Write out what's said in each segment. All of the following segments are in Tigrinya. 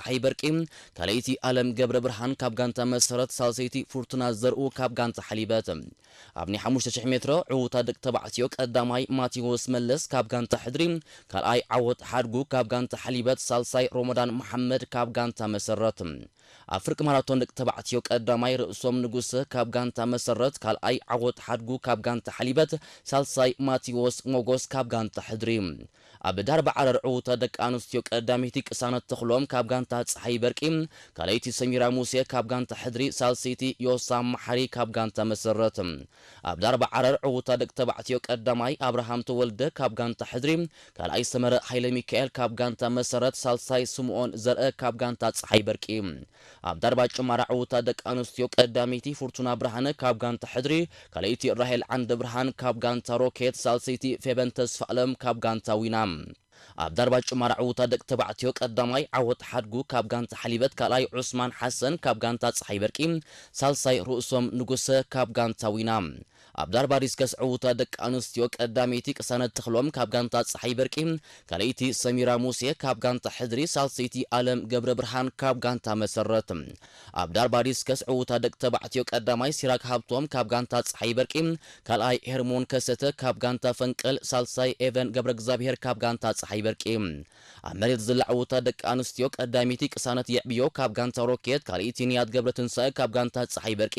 ጸሓይ በርቂ፣ ካልኣይቲ ኣለም ገብረ ብርሃን ካብ ጋንታ መሰረት፣ ሳልሰይቲ ፍርቱና ዘርኡ ካብ ጋንታ ሓሊበት። ኣብ ናይ ሓሙሽተ ሽሕ ሜትሮ ዕውታ ደቂ ተባዕትዮ ቀዳማይ ማቴዎስ መለስ ካብ ጋንታ ሕድሪ፣ ካልኣይ ዓወት ሓድጉ ካብ ጋንታ ሓሊበት፣ ሳልሳይ ሮሞዳን መሓመድ ካብ ጋንታ መሰረት። ኣብ ፍርቂ ማራቶን ደቂ ተባዕትዮ ቀዳማይ ርእሶም ንጉሰ ካብ ጋንታ መሰረት፣ ካልኣይ ዓወት ሓድጉ ካብ ጋንታ ሓሊበት፣ ሳልሳይ ማቴዎስ ሞጎስ ካብ ጋንታ ሕድሪ። ኣብ ዳርባ ዓረር ዕውታ ደቂ ኣንስትዮ ቀዳመይቲ ቅሳነት ተኽሎም ካብ ጋንታ ጸሓይ በርቂ፣ ካልኣይቲ ሰሚራ ሙሴ ካብ ጋንታ ሕድሪ፣ ሳልሰይቲ ዮሳ መሓሪ ካብ ጋንታ መሰረት። ኣብ ዳርባ ዓረር ዕውታ ደቂ ተባዕትዮ ቀዳማይ ኣብርሃም ተወልደ ካብ ጋንታ ሕድሪ፣ ካልኣይ ሰመረ ሃይለ ሚካኤል ካብ ጋንታ መሰረት፣ ሳልሳይ ስምኦን ዘርአ ካብ ጋንታ ጸሓይ በርቂ። ኣብ ዳርባ ጭማራ ዕውታ ደቂ ኣንስትዮ ቀዳመይቲ ፍርቱና ብርሃነ ካብ ጋንታ ሕድሪ፣ ካልኣይቲ ራሄል ዓንደ ብርሃን ካብ ጋንታ ሮኬት፣ ሳልሰይቲ ፌበን ተስፋ ኣለም ካብ ጋንታ ዊና። ኣብ ዳርባ ጭማራ ዕውታ ደቂ ተባዕትዮ ቀዳማይ ዓወት ሓድጉ ካብ ጋንታ ሓሊበት፣ ካልኣይ ዑስማን ሓሰን ካብ ጋንታ ጸሓይ በርቂ፣ ሳልሳይ ርእሶም ንጉሰ ካብ ጋንታ ዊና። ኣብ ዳርባ ዲስከስ ዕውታ ደቂ ኣንስትዮ ቀዳመይቲ ቅሳነት ተኽሎም ካብ ጋንታ ጸሓይ በርቂ፣ ካልኣይቲ ሰሚራ ሙሴ ካብ ጋንታ ሕድሪ፣ ሳልሰይቲ ኣለም ገብረ ብርሃን ካብ ጋንታ መሰረት። ኣብ ዳርባ ዲስከስ ዕውታ ደቂ ተባዕትዮ ቀዳማይ ሲራክ ሃብቶም ካብ ጋንታ ጸሓይ በርቂ፣ ካልኣይ ሄርሞን ከሰተ ካብ ጋንታ ፈንቅል፣ ሳልሳይ ኤቨን ገብረ እግዚኣብሔር ካብ ጋንታ ጸሓይ በርቂ። ኣብ መሬት ዝላ ዕውታ ደቂ ኣንስትዮ ቀዳመይቲ ቅሳነት የዕብዮ ካብ ጋንታ ሮኬት፣ ካልኣይቲ ንያት ገብረ ትንሳኤ ካብ ጋንታ ጸሓይ በርቂ፣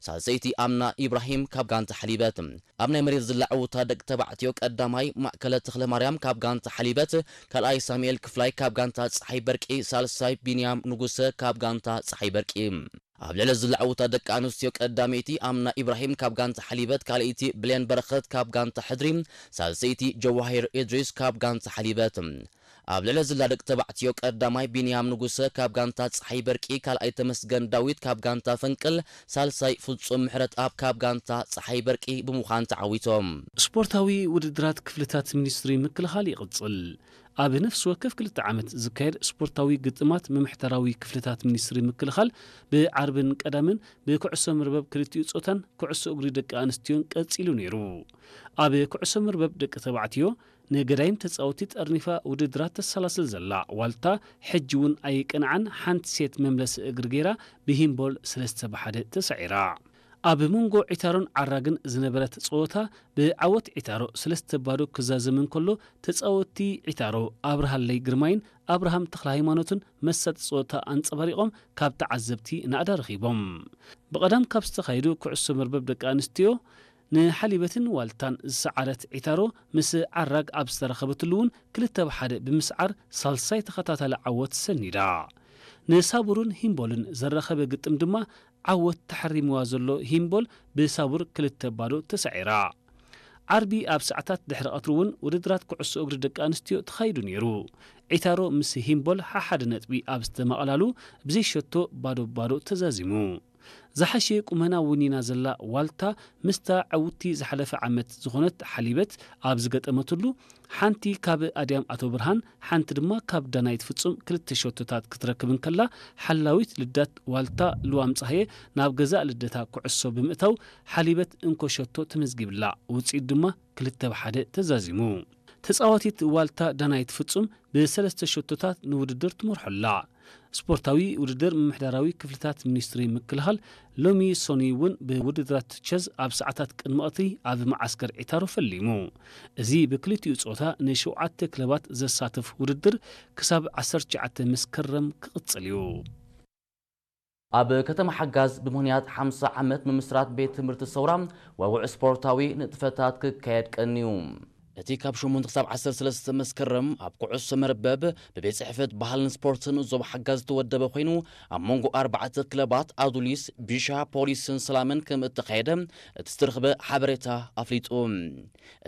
ሳልሰይቲ ኣምና ኢብራሂም ካብ ጋንታ ሓሊበት። ኣብ ናይ መሬት ዝላ ዕውታ ደቂ ተባዕትዮ ቀዳማይ ማእከለ ተኽለ ማርያም ካብ ጋንታ ሓሊበት፣ ካልኣይ ሳሙኤል ክፍላይ ካብ ጋንታ ጸሓይ በርቂ፣ ሳልሳይ ቢንያም ንጉሰ ካብ ጋንታ ጸሓይ በርቂ። ኣብ ልዕሊ ዝላ ዕውታ ደቂ ኣንስትዮ ቀዳመይቲ ኣምና ኢብራሂም ካብ ጋንታ ሓሊበት፣ ካልኣይቲ ብሌን በረኸት ካብ ጋንታ ሕድሪ፣ ሳልሰይቲ ጀዋሂር ኢድሪስ ካብ ጋንታ ሓሊበት። ኣብ ልዕሊ ዝላ ደቂ ተባዕትዮ ቀዳማይ ቢንያም ንጉሰ ካብ ጋንታ ጸሓይ በርቂ፣ ካልኣይ ተመስገን ዳዊት ካብ ጋንታ ፈንቅል፣ ሳልሳይ ፍጹም ምሕረት ኣብ ካብ ጋንታ ጸሓይ በርቂ ብምዃን ተዓዊቶም። ስፖርታዊ ውድድራት ክፍልታት ሚኒስትሪ ምክልኻል ይቕጽል። ኣብ ነፍሲ ወከፍ ክልተ ዓመት ዝካየድ ስፖርታዊ ግጥማት ምምሕዳራዊ ክፍልታት ሚኒስትሪ ምክልኻል ብዓርብን ቀዳምን ብኩዕሶ መርበብ ክልቲኡ ጾታን ኩዕሶ እግሪ ደቂ ኣንስትዮን ቀጺሉ ነይሩ። ኣብ ኩዕሶ መርበብ ደቂ ተባዕትዮ ንገዳይም ተጻወቲ ጠርኒፋ ውድድራት ተሰላስል ዘላ ዋልታ፣ ሕጂ እውን ኣይቀንዓን፣ ሓንቲ ሴት መምለሲ እግሪ ገይራ ብሂምቦል ሰለስተ ብሓደ ተሳዒራ። ኣብ መንጎ ዒታሮን ዓራግን ዝነበረት ጸወታ ብዓወት ዒታሮ ሰለስተ ባዶ ክዛዘም እንከሎ፣ ተጻወቲ ዒታሮ ኣብርሃለይ ግርማይን ኣብርሃም ተኽለ ሃይማኖትን መሳጢ ጸወታ ኣንጸባሪቖም ካብ ተዓዘብቲ ናእዳ ረኺቦም። ብቐዳም ካብ ዝተኻየዱ ኩዕሶ መርበብ ደቂ ኣንስትዮ ንሓሊበትን ዋልታን ዝሰዓረት ዒታሮ፣ ምስ ዓራግ ኣብ ዝተረኸበትሉ እውን ክልተ ብሓደ ብምስዓር ሳልሳይ ተኸታታሊ ዓወት ሰኒዳ። ንሳቡርን ሂምቦልን ዘራኸበ ግጥም ድማ ዓወት ተሓሪምዋ ዘሎ ሂምቦል ብሳቡር ክልተ ባዶ ተሳዒራ። ዓርቢ ኣብ ሰዓታት ድሕሪ ቀትሪ እውን ውድድራት ኩዕሶ እግሪ ደቂ ኣንስትዮ ተኻይዱ ነይሩ። ዒታሮ ምስ ሂምቦል ሓሓደ ነጥቢ ኣብ ዝተማቐላሉ ብዘይሸቶ ባዶ ባዶ ተዛዚሙ። ዝሓሸ ቁመና ወኒና ዘላ ዋልታ ምስታ ዕውቲ ዝሓለፈ ዓመት ዝኾነት ሓሊበት ኣብ ዝገጠመትሉ፣ ሓንቲ ካብ ኣድያም ኣቶ ብርሃን፣ ሓንቲ ድማ ካብ ዳናይት ፍጹም ክልተ ሸቶታት ክትረክብ እንከላ፣ ሓላዊት ልዳት ዋልታ ልዋም ጸሃየ ናብ ገዛእ ልደታ ኩዕሶ ብምእታው ሓሊበት እንኮ ሸቶ ተመዝጊብላ። ውጽኢት ድማ ክልተ ብሓደ ተዛዚሙ። ተጻዋቲት ዋልታ ዳናይት ፍጹም ብሰለስተ ሸቶታት ንውድድር ትመርሖ ኣላ። ስፖርታዊ ውድድር ምምሕዳራዊ ክፍልታት ሚኒስትሪ ምክልኻል ሎሚ ሰኑይ እውን ብውድድራት ቸዝ ኣብ ሰዓታት ቅድሚ ቀትሪ ኣብ መዓስከር ዒታሮ ፈሊሙ። እዚ ብክልቲኡ ጾታ ንሸውዓተ ክለባት ዘሳትፍ ውድድር ክሳብ ዓሰርተ ትሽዓተ መስከረም ክቕጽል እዩ። ኣብ ከተማ ሓጋዝ ብምኽንያት ሓምሳ ዓመት ምምስራት ቤት ትምህርቲ ሰውራ ወውዕ ስፖርታዊ ንጥፈታት ክካየድ ቀንዩ። እቲ ካብ ሸሞንተ ክሳብ ዓሰርተ ሰለስተ መስከረም ኣብ ኩዕሶ መርበብ ብቤት ጽሕፈት ባህልን ስፖርትን ዞባ ሓጋዝ ዝተወደበ ኮይኑ፣ ኣብ መንጎ ኣርባዕተ ክለባት ኣዱሊስ፣ ቢሻ፣ ፖሊስን ሰላምን ከም እተኻየደ እቲ ዝተረኽበ ሓበሬታ ኣፍሊጡ።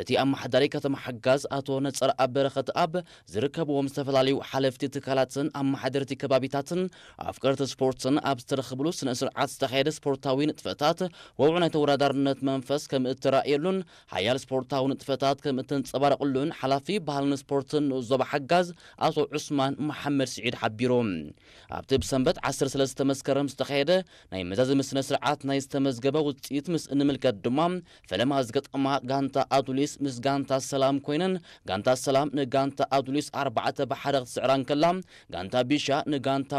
እቲ ኣመሓዳሪ ከተማ ሓጋዝ ኣቶ ነጸረኣብ በረኸተኣብ ዝርከብዎም ዝተፈላለዩ ሓለፍቲ ትካላትን ኣመሓደርቲ ከባቢታትን ኣፍቀርቲ ስፖርትን ኣብ ዝተረኽብሉ ስነ ስርዓት ዝተኻየደ ስፖርታዊ ንጥፈታት ወውዕ ናይ ተወዳዳርነት መንፈስ ከም እተራእየሉን ሓያል ስፖርታዊ ንጥፈታት ከም ዘንጸባረቕሉን ሓላፊ ባህልን ስፖርትን ንኡስ ዞባ ሓጋዝ ኣቶ ዑስማን መሓመድ ስዒድ ሓቢሩ። ኣብቲ ብሰንበት ዓሰርተ ሰለስተ መስከረም ዝተኻየደ ናይ መዛዘሚ ስነ ስርዓት ናይ ዝተመዝገበ ውጽኢት ምስ እንምልከት ድማ፣ ፈለማ ዝገጠማ ጋንታ ኣዱሊስ ምስ ጋንታ ሰላም ኮይነን፣ ጋንታ ሰላም ንጋንታ ኣዱሊስ ኣርባዕተ ብሓደ ክትስዕራ እንከላ፣ ጋንታ ቢሻ ንጋንታ